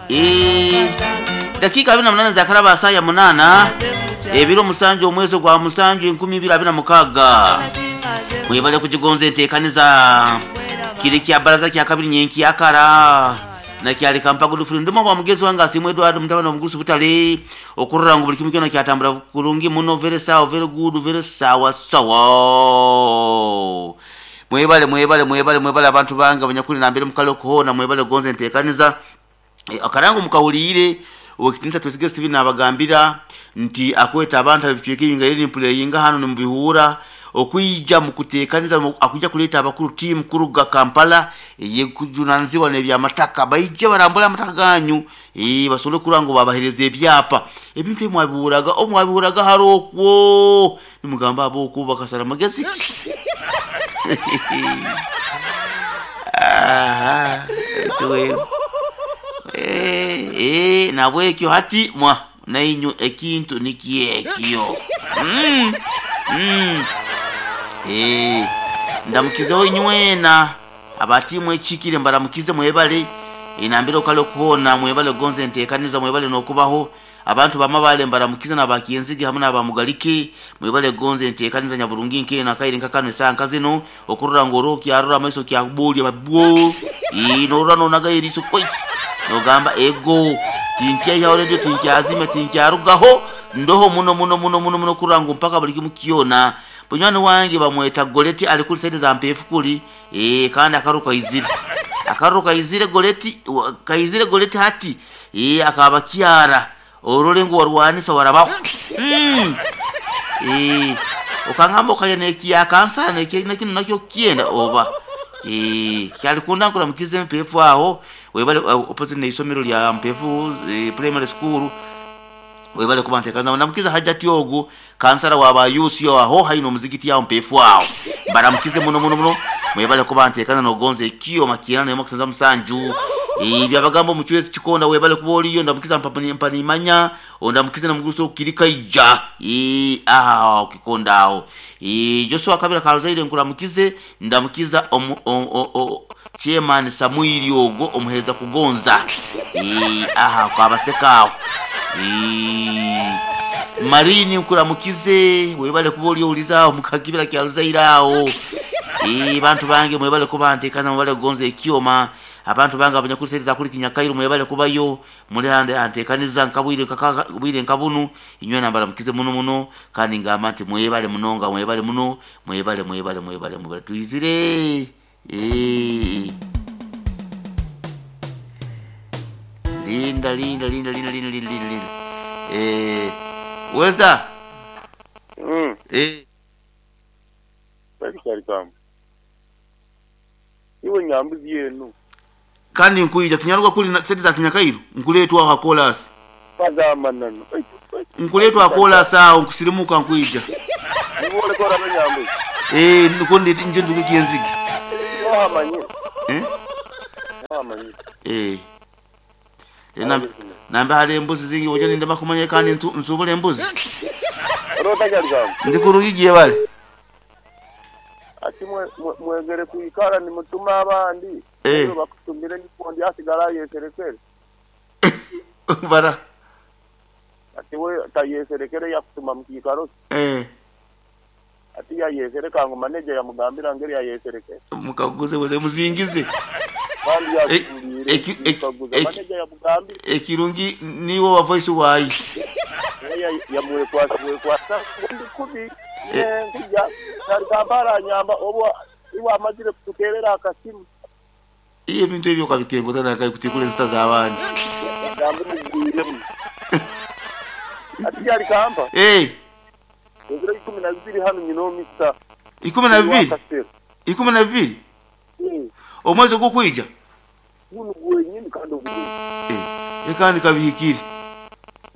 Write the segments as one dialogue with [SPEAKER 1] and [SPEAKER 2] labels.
[SPEAKER 1] Eh, dakiika 28 zakaraba saa ya munaana ebiro musanju omwezi ogwa musanju 2026 mwebale kugigonza enteekaniza kiri kya baraza kya kabiri nyenki yakara nakyaleka mpagudufuli ndimo bwa mugezi wange asimwe Edward mutabani omugurusi butale okurora ngu buli kimu kyona kyatambura kurungi muno very sawa very good very sawa sawa. Mwebale mwebale mwebale mwebale abantu bange abanyakuli nambere mukale okuhoona mwebale kugonza enteekaniza. Akarango mukahuriire owekitinisa Twesige Steven nabagambira nti akweta abantu ab'ebicweka ebi ngaire nimpureyinga hanu nimubihuura okwija mukuteekaniza akwija kuleeta abakuru tiimu kuruga Kampala eyekujunanizibwa n'ebyamataka baije barambule amataka ganyu basobole kurora ngu babahereza ebyapa. Ebintu ebi mwabihuuraga obu mwabihuuraga hare okwo nimugamba ab'okwo bakasara magezi ki? Aha, nabwekyo hati mwa nainywe ekintu nikyo ekyo. Ndamukizeho inywena aba tiimu ekihikire mbaramukize mwebale nambere okale okuhoona mwebale kugonza enteekaniza mwebale n'okubaho. Abantu ba Mabale mbaramukize n'aba Kyenzige hamu n'aba Mugalike mwebale kugonza enteekaniza nyaburungi nk'eno akaire nka kanu esaaha nka zinu okurora ngu oroho kyarora amaiso kyakubwoorya mabwo norora nonagayo eriiso kwei nogamba ego tinkyaihaho radio tinkyazimya tinkyarugaho ndoho muno muno muno muno muno kurora ngu mpaka buli kimu kyona. Munywani wange bamweta Goleti ali kuri saidi za Mpeefu kuri kandi akaruru kaizire akaruru kaizire Goleti kaizire Goleti hati akaba kyara orore ngu warwanisa warabaho. Okangamba okarya n'ekya kansara n'ekinu nakyo kyenda oba kyalikunda nkuramukize Mpeefu aho webale opposite n'eisomero lya Mpeefu primary school webale kuba nteekaniza. Ndamukize Hajati ogu kansara wa ba youth aho haihi n'omuzigiti aho Mpeefu aho mbaramukize muno muno muno mwebale kuba nteekaniza n'okugonza ekyoma kyenda n'emwe kusanza musanju. Byabagamba omucwezi Kikonda webale kuba oriyo ndamukiza Mpanimanya ondamukize n'omugurusi okukiri Kaija aho Kikonda aho. Joshua Kabira Karuzaire nkuramukize ndamukiza chairman Samuiri ogwo omuheereza kugonza aha Kabaseka aho. Marini nkuramukize webale kuba ori ohurize aho mukakibira kya Ruzaire aho. Bantu bange mwebale kuba nteekaniza mwebale kugonza ekyoma. Abantu bange abanyakuri saidi za kuri Kinyakairu mwebale kubayo muri hanteekaniza nkabwire nka bunu inywena mbaramukize muno muno kandi ngamba nti mwebale munonga mwebale muno mwebale mwebale mwebale mwebale twizire. Linda linda linda linda linda linda linda. Weza.
[SPEAKER 2] Iwe nyambuzi yeenu.
[SPEAKER 1] Kandi nkwija tinyaruga kuri sente za Kinyakairu nkuleetwa aho ha koolaasi. Nkuleetwa ha koolaasi aho nkusirimuka nkwija.
[SPEAKER 2] Niiwe oreka orabe nyambuzi?
[SPEAKER 1] Nikwo nje nduge Kyenzige.
[SPEAKER 2] Niiwe ohamanyire?
[SPEAKER 1] Nambe hariho embuzi zingi ojo nindema kumanya kandi nsubura embuzi.
[SPEAKER 2] Oroota Kyarugamba?
[SPEAKER 1] Ndi kurungi gyebale.
[SPEAKER 2] Ati mwegere kwikara nimutuma abandi aye bakutumire nikwo ondi asigara ayeserekere.
[SPEAKER 1] Bara.
[SPEAKER 2] Ati we tayeserekere yakutuma mu kiikaro kye. Ati yayesereka ngu maneja yamugambira ngeri yayeserekere.
[SPEAKER 1] Mukaguze buze muzingize.
[SPEAKER 2] Kandi yakihuliire mukaguza maneja yamugambira.
[SPEAKER 1] Ekirungi niiwe owa voice waayi.
[SPEAKER 2] Yamwekwasa bwekwasa ngu ndi kubi nkuja Kyarugamba aranyamba obu iwe amazire kututeerera akasimu.
[SPEAKER 1] Iwe ebintu ebyo okabitenga ota nankahi kutikura ensita z'abandi.
[SPEAKER 2] Ebigambo mubigwiremu. Ati Kyarugamba. Ebiro 12 hanu nyine omisa.
[SPEAKER 1] 12? 12? Omwezi ogukwija?
[SPEAKER 2] Gunu gwenyini kandi ogurimu.
[SPEAKER 1] Kandi kabihikire.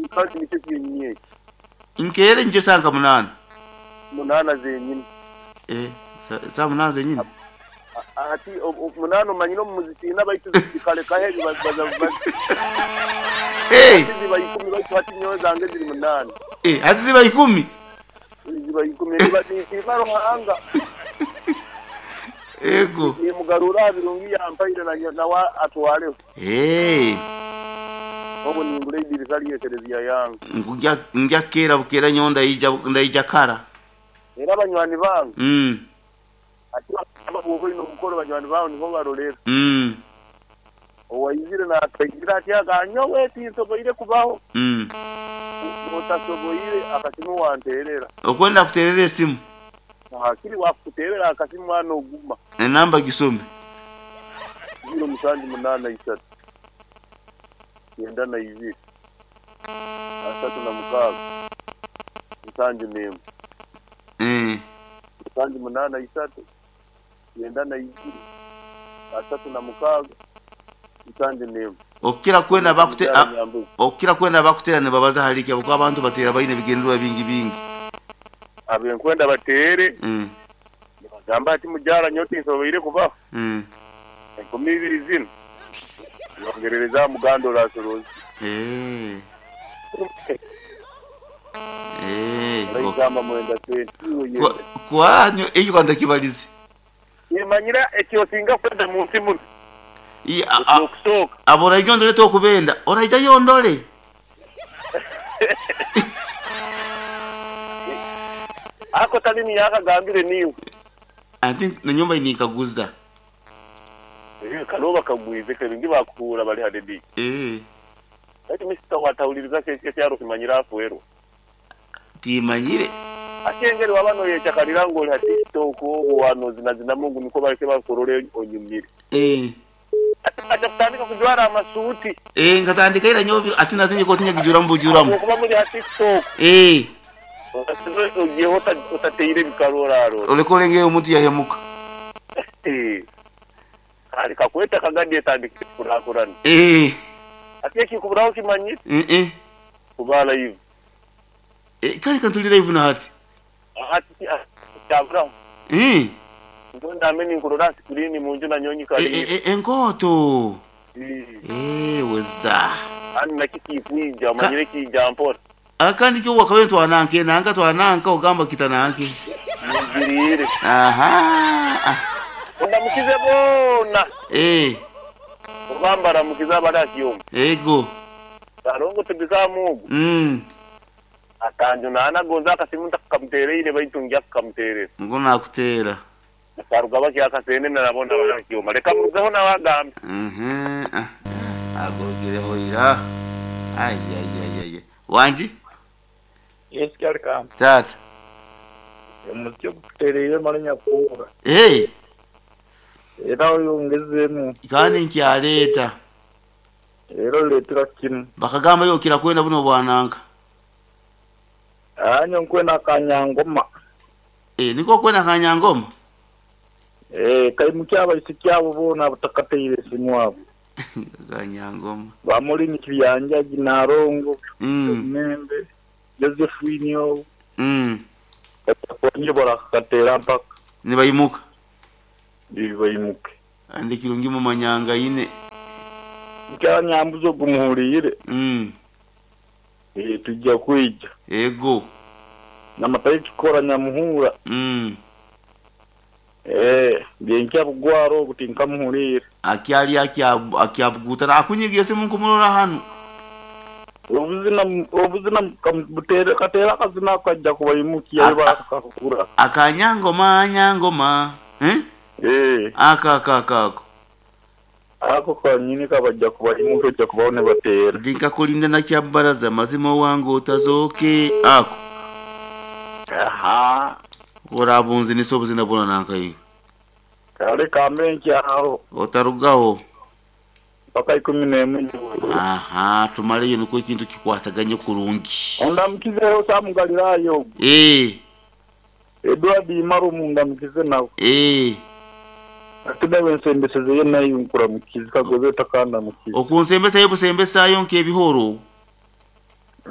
[SPEAKER 2] Kandi nikyo kyenyini eki.
[SPEAKER 1] Nkeere nikyo esaaha nka munaana.
[SPEAKER 2] Munaana zenyini.
[SPEAKER 1] Esaaha munaana zenyini?
[SPEAKER 2] Hati munaana omanyire omu muzitiina baitu zikarekaho ebi baza Hati ziba ikumi baitu hati nyowe zange ziri munaana.
[SPEAKER 1] Hati ziba ikumi?
[SPEAKER 2] Ziba ikumi ninsiima Ruhanga.
[SPEAKER 1] Ego.
[SPEAKER 2] Nimugarura aha birungi yampaire nawe atwareho. Obwo ningura eidirisa ry'ekereziya yange.
[SPEAKER 1] Ngu ngya keera bukeera nyowe ndaija ndaija kara.
[SPEAKER 2] Era banywani bange. Ati bakagamba bwoba oine omukoro banywani baawe niho barorera. Owaizire nataizire ati aga nyowe tinsoboire kubaho. Bwotasoboire akasimu wanterera.
[SPEAKER 1] Okwenda akuterere esimu.
[SPEAKER 2] Hakiri wakukuterera akasimu mwana oguma.
[SPEAKER 1] Enamba gisome.
[SPEAKER 2] Ziiro musanju munaana isatu kyenda na ibiri 36 71. 7 83 96 71.
[SPEAKER 1] Okukira kwena abakute okukira kwena abakutera nibabaza ahari ki ahabw'okuba abantu bateera baine ebigendererwa bingi bingi.
[SPEAKER 2] Abenkwenda bateere nibagamba ati, Mujaara nyowe tinsoboire kubaho. Enkumi ibiri zinu yongerereza aha muganda orasorooze. Oraigamba mwenda sente iwe yenda.
[SPEAKER 1] Kwanyu ekyo ka ntakibarize.
[SPEAKER 2] Nimanyira eki osinga kwenda mu nsi muno. Eky'okusooka.
[SPEAKER 1] Abo oraija ondore tokubenda, oraija yo ondore.
[SPEAKER 2] Ako tali niyo akagambire niiwe.
[SPEAKER 1] I think nanyowe mbaire ninkaguza.
[SPEAKER 2] Eeh kare obakagwize kebingi bakuhuura bari ha rediyo. Baitu Mister watahuliriza ki ekyaro kimanyire afwerwa?
[SPEAKER 1] Timanyire.
[SPEAKER 2] Hati engeri waba noyecakarira ngu ori ha TikTok obwo wanozinazinamu ngu nikwo bareke bakurore onyumire. Hati waija kutandika kujwara amasuuti.
[SPEAKER 1] Nkatandika ira nyowe hati naza ekooti nyagijuramu bujuramu.
[SPEAKER 2] Ahabwokuba muri ha TikTok. Ogiheho otateire ebikaru orarora.
[SPEAKER 1] Oreke orenge omuntu yahemuka.
[SPEAKER 2] Kare kakwete akagadi etandikire kukurakurana. Hati ekikuburaho okimanyire? Kuba live.
[SPEAKER 1] Kare ka nturi live na hati.
[SPEAKER 2] Hati kyaburaho. Nyowe ndambe ninkurora aha sikirini munju nanyowe nyikariire.
[SPEAKER 1] Enkooto. Weza.
[SPEAKER 2] Kandi nakyo tikwija omanyire kiija mpora.
[SPEAKER 1] Akandi kyo wakabaire twananka enanka twananka ogamba kitananke.
[SPEAKER 2] Nigiriire.
[SPEAKER 1] Ahaa.
[SPEAKER 2] Ondamukize boona. Oba mbaramukize abari aha kyoma.
[SPEAKER 1] Ego.
[SPEAKER 2] Karongo tibikamu ogu. Akanjunaana gonza akasimu ntakamuteereire baitu ngya kukamuteerera.
[SPEAKER 1] Ngu nakuteera.
[SPEAKER 2] Akaruga bakya akaseenene na boona abari aha kyoma. Leka murugeho nawe agambe.
[SPEAKER 1] Agogireho ira. Ayayayaya. Wangi?
[SPEAKER 3] Yes Kyarikamba.
[SPEAKER 1] Taata.
[SPEAKER 3] Omuziki ogututereire mare nyakuhurra.
[SPEAKER 1] Hey.
[SPEAKER 3] Era oyongezeemu.
[SPEAKER 1] Kandi nkyareeta.
[SPEAKER 3] Era orireetera kimwe.
[SPEAKER 1] Bakagamba iwe okira kwenda buno obwananka.
[SPEAKER 3] Aa nyowe nkwenda akanyangoma.
[SPEAKER 1] Eh, nikwo okwenda akanyangoma?
[SPEAKER 3] Eh, kaimukye abaisiki abo boona abatakateire simu abo.
[SPEAKER 1] Akanyangoma.
[SPEAKER 3] Ba Maureen Kibyanjagi, Nalongo, Membe, Josephine ogu. Batakwangire barakakateera mpaka.
[SPEAKER 1] Nibaimuka.
[SPEAKER 3] Baimuke.
[SPEAKER 1] Kandi kirungi mumanyangaine.
[SPEAKER 3] Mukyara Nyambuzi ogu muhuriire? Eeh twija kwija.
[SPEAKER 1] Ego.
[SPEAKER 3] Namatayo kikora Nyamuhura. Eeh byenkya Bugwara ogu tinkamuhuriire.
[SPEAKER 1] Akyari akyabuguutana akunyiga esimu nkumurora hanu.
[SPEAKER 3] Obuzina obuzina kamuteere kateere akazina ako kaija kubaimukya ahi barakahurra.
[SPEAKER 1] Aka Nyangoma Nyangoma eh?
[SPEAKER 3] Eeh.
[SPEAKER 1] Ako ako ako ako.
[SPEAKER 3] Ako kanyini kabaija kubaimuka oija kubaho nibateera.
[SPEAKER 1] Ndi nkakulinda na Kyabaraza mazima owange otazooke ako.
[SPEAKER 3] Ahaa.
[SPEAKER 1] Ku orabunzinisa obuzina bwona nanka iwe.
[SPEAKER 3] Kare kambe nkyaho.
[SPEAKER 1] Otarugaho.
[SPEAKER 3] Mpaka ikumi n'emwe nyowe.
[SPEAKER 1] Ahaa tumareyo nikwo ekintu kikwasaganye kurungi.
[SPEAKER 3] Ondamukizeho Sam Galilaya ogwo.
[SPEAKER 1] Eeh.
[SPEAKER 3] Edward Imarumu ondamukize nawe.
[SPEAKER 1] Eeh.
[SPEAKER 3] Hati naiwe nsembesezeyo naiwe nkuramukize kagobe otakandamukize.
[SPEAKER 1] Okunsembesayo busembesayo nk'ebihoro.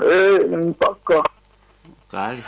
[SPEAKER 3] Eeh mpaka.
[SPEAKER 1] Kare.